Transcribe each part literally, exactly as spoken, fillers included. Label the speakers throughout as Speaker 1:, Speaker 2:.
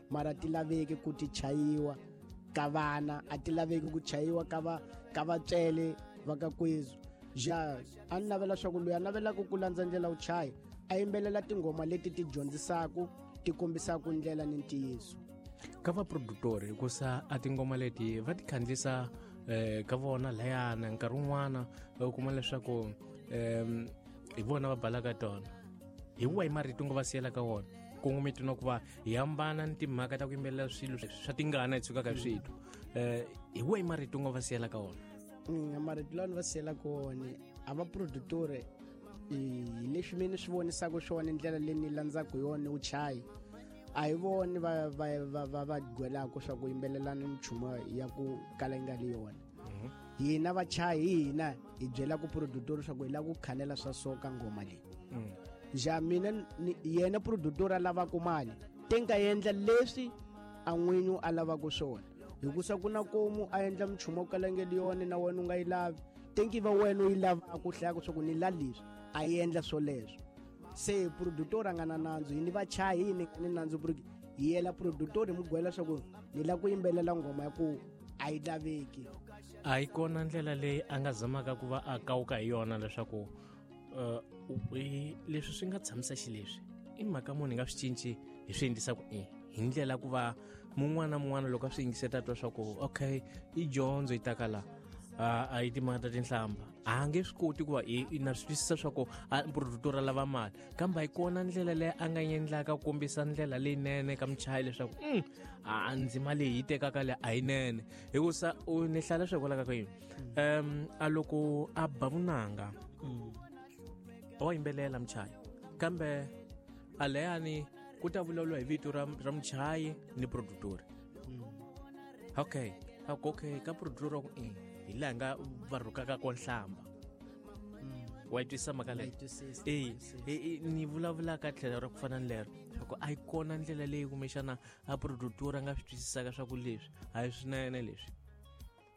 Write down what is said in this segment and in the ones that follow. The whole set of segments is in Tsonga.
Speaker 1: Mara ti laveki ku ti chayiwa ka vana, a ti laveki ku chayiwa ka va ka vatswele va ka kwezu. Ja a ni navela swa ku loyi a navelaka ku landza ndlela wu chaya a yimbelela tinghoma leti ti dyondzisaka ti kombisaka ndlela ni ntiyiso.
Speaker 2: Ka vaproductori hikusa a tinghoma leti va ti khandzisa eh ka vona layana nkarhi wun'wana u kuma leswaku um hi vona va balaka tona hi wahi marito ngo va siyela ka wona kongometi na ku va hi hambana ni timhaka ta ku yimbelela swilo swa tingana hi tshukaka hi switwa um hi wahi marito ngo va siyela ka wona?
Speaker 1: Marito lawa ni va siyelaka wona a va produtore hi leswi mina ni swi vonisaka swona ndlela leyi ni landzaka hi yona wu chayi a hi voni va va va va va gwelaka swa ku yimbelelana minchumu ya ku kala yi nga li yona. Hina vachayi hi hina hi byelaka produtor swa ku hi lava ku khanela swa so ka nghoma leyi. Ja mina yena produtor a lavaka mali te nga endla leswi a n'winyi a lavaka swona hikusa ku na komu a endla minchumu yo kala nge li yona na wena u nga yi lavi tenki va wena u yi lavaka ku hlaya swa ku ni la leswi a endla swoleswo. Se produtor a nga na nandzu hi ni vachayi hi ni ni nandzu hi yela produtor hi mu gwela swa ku ni lava ku yimbelela nghoma ya ku a yi laveki.
Speaker 2: A yi kona ndlela leyi a nga zamaka ku va a kawuka hi yona leswaku uh, leswi swi nga tshamisa xileswi i mhaka munhu hi nga swi cinci hi swi endlisa ku i hi ndlela ku va mun'wana na mun'wana loko a swi yingiseta twa swa ku okay i dyondzo yi taka la a yi timhaka ta tinhlamba a nge swi koti ku va i na swi twisisa swa ku produtor a lava mali kambe a yi kona ndlela leyi a nga endlaka ku kombisa ndlela leyinene ka muchayi leswaku um a ndzima leyi yi tekaka leyi a yinene hikusa u ni hlaya leswi hikwalaho ka yini um a loko a ba vunanga wa yimbelela muchayi kambe a leyani ku ta vulavuriwa hi vito ra ra muchayi ni produtor. Okay okay ka produtor ku i hi laha nga va rhukaka ko nhlamba wa yi twisisa mhaka leyi? E ni vulavulaka tlhelo ra ku fana ni lero swa ku a yi kona ndlela leyi kumbexana a produtor a nga swi twisisaka swa ku leswi a hi swinene leswi.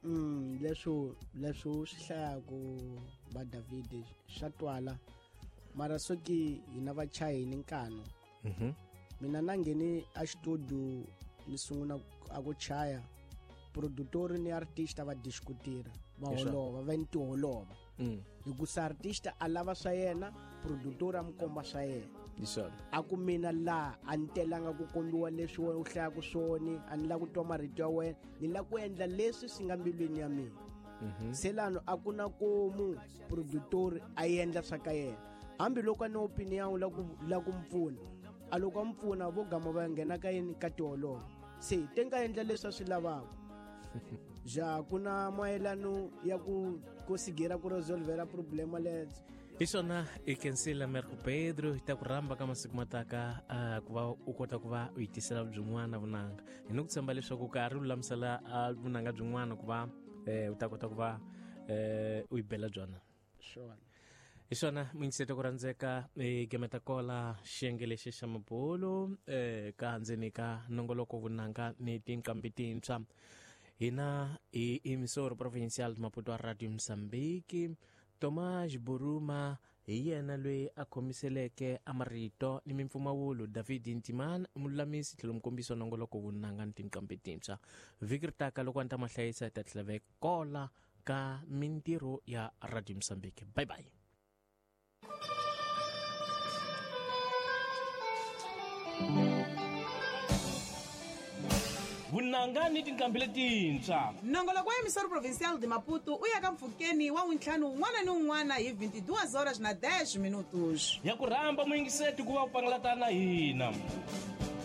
Speaker 1: Mm leswo leswo swi hlayaku va David swa twala mara soki hina vachayi ni nkano. Mina na ngheni a studio ni sungula a ku chaya produtor ni artist va diskutira va holova va ni holova hikusa artist a lava swa yena produtor a mu komba swa yena a ku mina la a ni telanga ku kombiwa leswi wena u hlayaka swona a ni lava ku twa marito ya wena ni lava ku endla leswi swi nga mbilwini ya mina. Se lano a ku na komu produtor a endla swa ka yena hambiloko a ni opinion la ku la ku mpfuna a loko a mpfuna vo gama va nghena ka yini ka tiholova se te nga endla leswi a swi lavaka. Ja ku na mayelano ya ku ku sigera ku resolvera problema lets.
Speaker 2: Hi swona i kensile Americo Pedro hi ta ku rhamba ka masiku mataka ku va u kota ku va u yi tisela byin'wana vunanga hi ni ku tshemba leswaku karhi u lulamisela vunanga byin'wana ku va u ta kota ku va u yi bela byona.
Speaker 1: Swona
Speaker 2: hi swona muyingiseti ku rhandzeka i gemeta kola xiyenge lexi xa mabulu ka ndzeni ka nongoloko vunanga ni tinqambi tintshwa. Hina hi emissora provincial Maputo Radio Mozambique. Tomás Buruma hi yena loyi a khomiseleke a marito ni mimpfumawulo David Ntimana mululamisi tlhelo mukombisi wa nongoloko vunanga ni tinqambi tintshwa. Vhiki ri taka loko a ni ta mahlayisa hi ta tlhela kola ka mintirho ya Radio Mozambique. Bye bye.
Speaker 3: Vunanga ni tinqambi letintshwa.
Speaker 4: Nongoloko wa emissora provincial de Maputo u ya ka mpfhukeni wa wuntlhanu wun'wana ni wun'wana hi vinte e duas horas na dez minutos.
Speaker 3: Ya ku rhamba muyingiseti ku va u pangalatana na hina.